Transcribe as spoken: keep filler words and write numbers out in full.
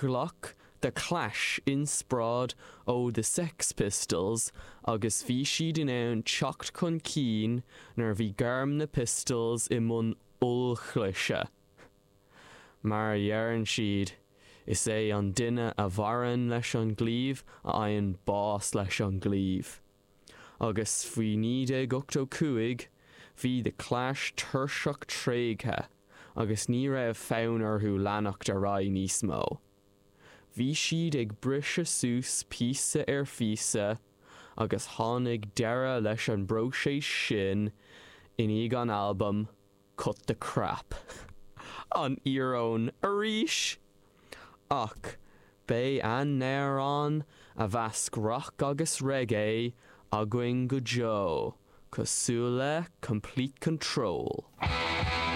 Ghlac The Clash inspioráid ó The Sex Pistols agus bhí siad in ann teacht chun cinn nuair a bhí gairm na Pistols i mbun ollchliseadh. Mar a dheireann siad, is é an duine a mhaireann leis an gclaíomh a fhaigheann bás leis an gclaíomh. Agus faoi naoi déag ochtó cúig, bhí The Clash tuirseach tréigthe agus ní raibh fonn orthu leanacht ar aghaidh níos mó. Bhí siad ag briseadh suas píosa ar phíosa agus tháinig deireadh leis an bpróiseas sin i ndiaidh an albam Cut the Crap. An íoróin arís! Ach beidh a n-amhráin a mheasc rock agus reggae againn go deo, cosúil le Complete Control.